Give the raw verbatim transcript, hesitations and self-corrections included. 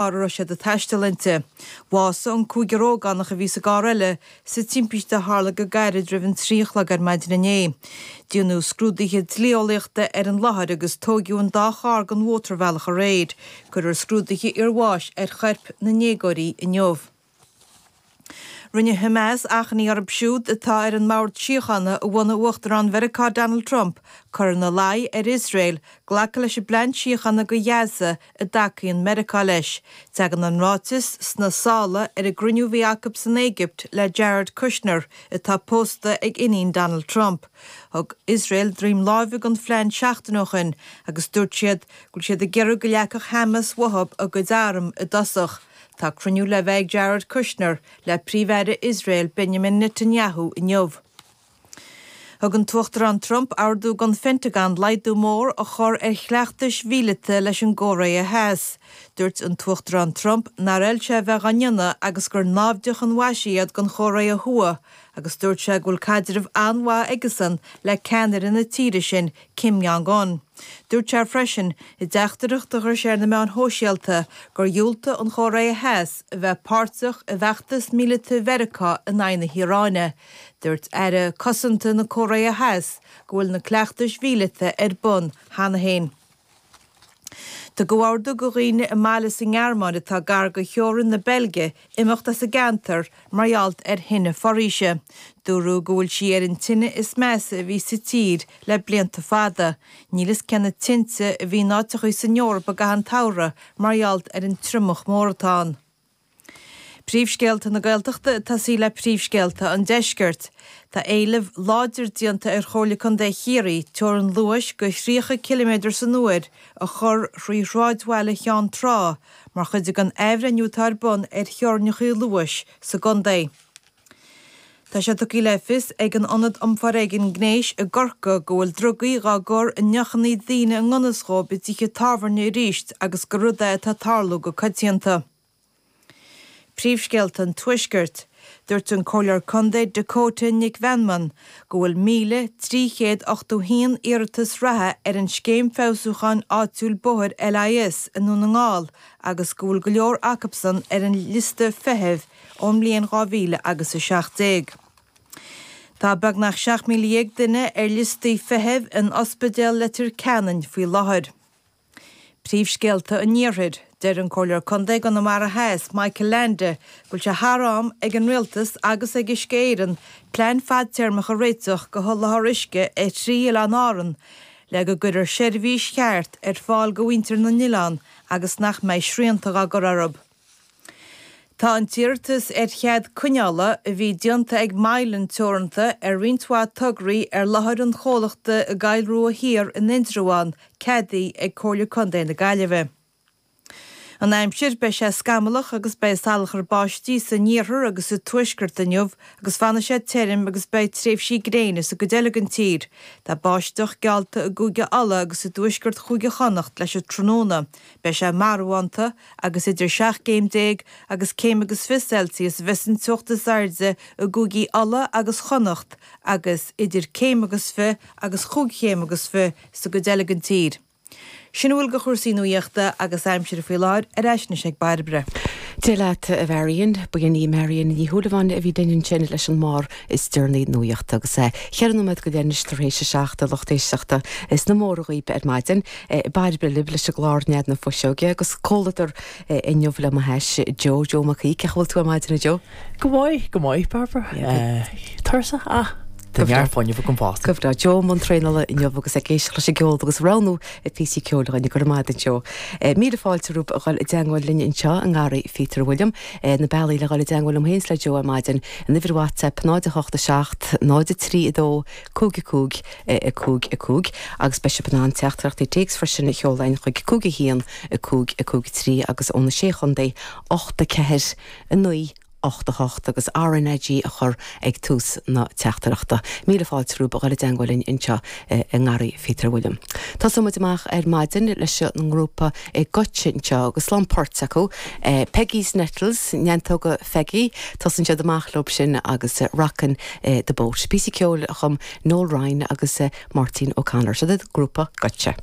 a raibh siad ag taisteal inti. Bhásaigh an cúigear ógánach a bhí sa gcarr eile sa timpiste a tharla go gairid roimh an trí a chlog ar maidin inné. Déanadh scrúduithe dlí-eolaíochta ar an láthair agus tóigeadh an dá charr den mhótarbhealach aréir. Cuirfear scrúduithe iarbháis ar choirp na ndéagóirí inniu. Rinne Hamas achainí orthu siúd atá ar an mbord síochána a bhunaigh Uachtarán Mheiriceá Donald Trump cur ina luí ar Iosrael glacadh leis an bplean síochána do Ghaza a dtacaíonn Meiriceá leis. Tagann an ráiteas sna sála ar an gcruinniú a bhí acu san Éigipt le Jared Kushner atá pósta ag iníon Donald Trump. Thug Iosrael droim láimhe don phlean seachtain ó shin agus dúirt siad go bhfuil siad ag iarraidh go leagfadh Hamas uathu a gcuid arm i dtosach. Tá cruinniú le bheith ag Jared Kushner le Príomh-Aire Iosrael Benjamin Netanyahu inniu. Thug an tUachtarán Trump ordú don Phentagon laghdú mór a chur ar chleachtais mhíleata leis an gCóiré Theas. Dúirt an tUachtarán Trump nár fheil sé a bheith á ndéanamh agus gur naimhdeach an mhaise iad don Chóiré Thuaidh agus dúirt sé go bhfuil caidreamh an-mhaith aigesan le ceannaire na tíre sin, Kim Jong-un. Dúirt sé freisin, i dteachtaireacht a chuir sé ar na meáin shóisialta, gur dhiúltaigh an Chóiré Theas a bheith páirteach i bhfeachtas míleata Mheiriceá in aghaidh na hIaráine. Dúirt Aire Cosanta na Cóiré Theas go bhfuil na cleachtais mhíleata ar bun cheana féin. Tugadh ordú do dhaoine i mbaile sa nGearmáin atá gar do theorainn na Beilge imeacht as an gceantar mar gheall ar thine foraoise. Dúradh go bhfuil sí ar an tine is measa a bhí sa tír le blianta fada. Níl fhios cé na tinte a bhí in áiteachaí san Eoraip i gcaitheamh an tsamhraidh mar gheall ar an triomach mór atá ann. Príomhscéalta na Gaeltachta ag tosaí le príomhscéalta an Deiscirt. Tá éileamh láidir déanta ar Chomhairle Contae Chiarraí teorainn luais go thríocha ciliméadar san uair a chur thrí shráidbhaile Cheann Trá mar chuid den athbhreithniú atá ar bun ar theorainneacha luais sa gcontae. Tá sé tugtha le fios ag an Ionad um Foréigean Gnéis i gCorcaigh go bhfuil drugaí dhá gcur i ndeochanna daoine i ngan fhios dhóibh i dtithe tábhairne arís agus gur rud é atá ag tarlú go coitianta. Príomhscéalta an Tuaiscirt. Dúirt an Comhairleoir Contae Dakota Nic Mheanman go bhfuil míle trí chéad ochtó haon iarratas reatha ar an Scéim Feabhsúcháin Áitiúil Bóthair LIS i nDún na nGall agus go bhfuil go leor acusan ar an liosta feithimh ón mbliain dhá mhíle agus a seacht déag. Tá beagnach seacht míle dhéag duine ar liostaí feithimh in Ospidéal Leitir Ceanainn faoi láthair. Príomhscéalta an Iarthair, Deir an Comhairleoir Contae i gConamara Theas, Michael Leainde, go bhfuil sé thar am ag an Rialtas agus ag Uisce Éireann plean fadtéarmach a réiteach do sholáthar uisce ar thrí oileán Árann le go gcuirfear seirbhís cheart ar fáil do mhuintir na n-oileán agus nach mbeidh srianta á gcur orthu. Tá an t-iarratas ar chead coinneála a bhí déanta ag Mylan Teoranta ar roinnt mhaith tograí ar láthair an chomhlachta i gCoill Rua Thiar in Indreabhán ceadaithe ag Comhairle Contae na Gaillimhe. An aimsir, Beidh sé scamallach agus beidh salachar báistí san iarthar agus sa tuaisceart inniu agus fanfaidh sé tirim agus beidh tréimhsí gréine sa gcuid eile den tír. Tá báisteach geallta i gCúige Uladh agus i dtuaisceart Chúige Chonnacht leis an tráthnóna. Beidh sé marbhánta agus idir seacht gcéim déag agus céim agus fiche Celsius a bheas an teocht is airde i gcúigí Uladh agus Chonnacht agus idir céim agus fiche agus chúig chéim agus fiche sa gcuid eile den tír. Sin a bhfuil de chúrsaí nuachta agus aimsire faoi láthair, ar ais anois ag Bairbre. Dia leat, a Mharion. Ba í Marion Ní Shúilleabháin a bhí linn ansin leis an mbarr is deireanaí nuachta agus ceithre nóiméad go leith anois tar éis a seacht, a lucht éisteachta is na móra dhaoibh ar maidin. Bairbre libh leis an gclár Nead na Fuiseoige agus comhluadar inniu le mo hais Joe, Joe Mac Aoidh. Cén chaoi a bhfuil tú ar maidin, a Joe? Go maith, go maith, Bairbre. Tuirseach ach Tá neart fuinnimh agam fosta. Go breá. Joe i mbun traenála inniu agus ag éisteacht leis an gceol agus roghnú píosaí ceoil dhúinn. Go raibh maith agat Joe. Míle fáilte romhaibh a dhul i dteangmháil linn anseo i nGarraí Phíotair William. Na bealaí le dhul i dteangmháil liom féin is le Joe ar maidin, an uimhir WhatsApp náid a hocht a seacht, náid a trí a dó, cúig a cúig, a cúig a cúig agus beidh sibh in ann teachtaireachtaí téacs freisin a sheoladh chuig cúig a haon, a cúig, a cúig a trí agus ó na Sé Chontae, ocht a ceathair, a naoi, ocht a hocht agus RnaG a chur ag tús na teachtaireachta. Míle fáilte romhaibh a dhul i dteangmháil linn anseo i nGarraí Phíotair William. Tosóidh muid amach ar maidin leis an ngrúpa Goitse anseo agus lán poirt acu, Peggy's Nettles, Neantóga Pheigí, tosaíonn siad amach leo sin agus Rockin' the Boat. Píosa ceoil a chum Noel Ryan agus Máirtín O'Connor. Seo iad grúpa Goitse.